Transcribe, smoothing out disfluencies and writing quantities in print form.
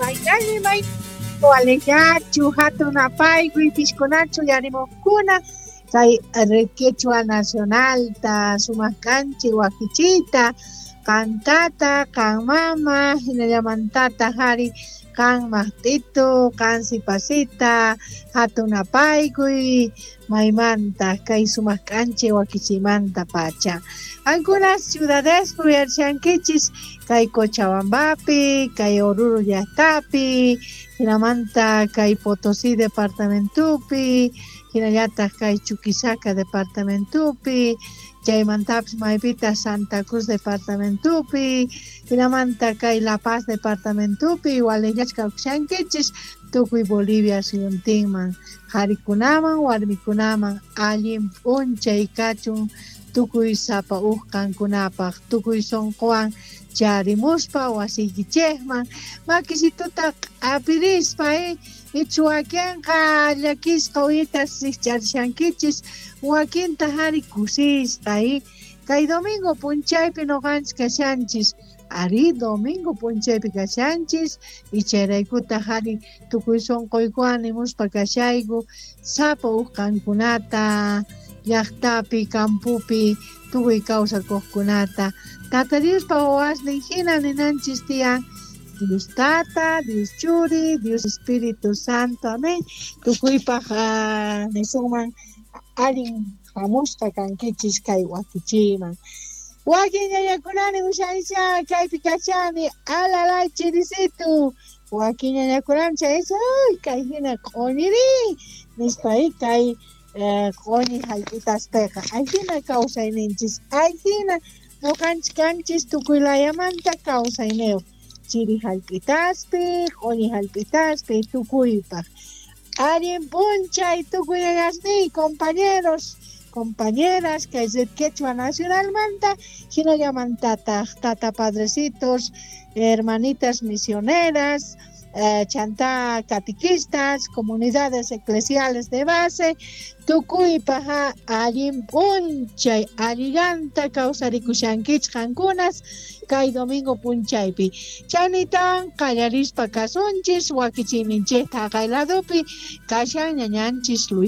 Maykalli may walillachu hatun apaykuy pishkunachu yarimuqkuna kay Quechua Nacionalta sumaq kanchik wakichiyta qan tata, qan mama, hinallamantataq ari qan maqt'itu, qan sipasita, hatun apaykuy maymanta kay sumaq k'anchay wakichiymanta pacha. Qankuna ciudadespi uyarishankichis kay Cochabambapi, kay Oruro llaqtapi, hinamanta kay Potosí departamentopi, hinallataq kay Chuquisaca departamentopi, chaymantapis maypitaq Santa Cruz departamentopi, hinamanta kay La Paz departamentopi walejllachka kawsashankichis tukuy Bolivia suyuntinman, qharikunaman warmikunaman allin p'unchay kachun tukuy sapa uj qankunapaq, tukuy sunquwan charimuspa wasiykichejman makisituta q'apirispa ichu wakinqa llakisqa uyita rijch'arishankichis, wakintaq ari kusisqa kay domingo p'unchaypi noqanchis kashanchis, ari domingo p'unchaypi kashanchis y chayraykutaq ari tukuy sunquykuwan nimuspa kashayku sapa uj qankunata llaqtapi, campopi tukuy kawsakuqkunata Tata Diospa wawasnin hina ninanchis tiyan Dios Tata, Dios Churi, Dios Espíritu Santo, amén. Tukuypaq nisunman allin hamusqa kankichis kay wakichiyman. Wakin ñañakunani ushanisha kaypi kachani alalay chirisitu. Wakin ñañakunani chaysa ay kay hina q'oñiri nispa kay q'oñi hallp'itaspeqa ayhina kawsayninchis, ayhina noqanchis kanchis tukuy layamanta kawsayniyuq chiri hallp'itaspi, q'oñi hallp'itaspi tukuypaq. Allin p'unchay tukuy ñañasniy, compañeros, compañeras kay Red Quechua Nacionalmanta, hinallamantataq tata padrecitos, hermanitas misioneras, chantá catequistas, comunidades eclesiales de base, tukuypaq allin p'unchay, allillanta kawsarikushankichik qankunas kay domingo p'unchaypi. Chaynitawan qallarispa kasunchis wakichiyninchikta haqay ladopi kashan ñañanchis Luis.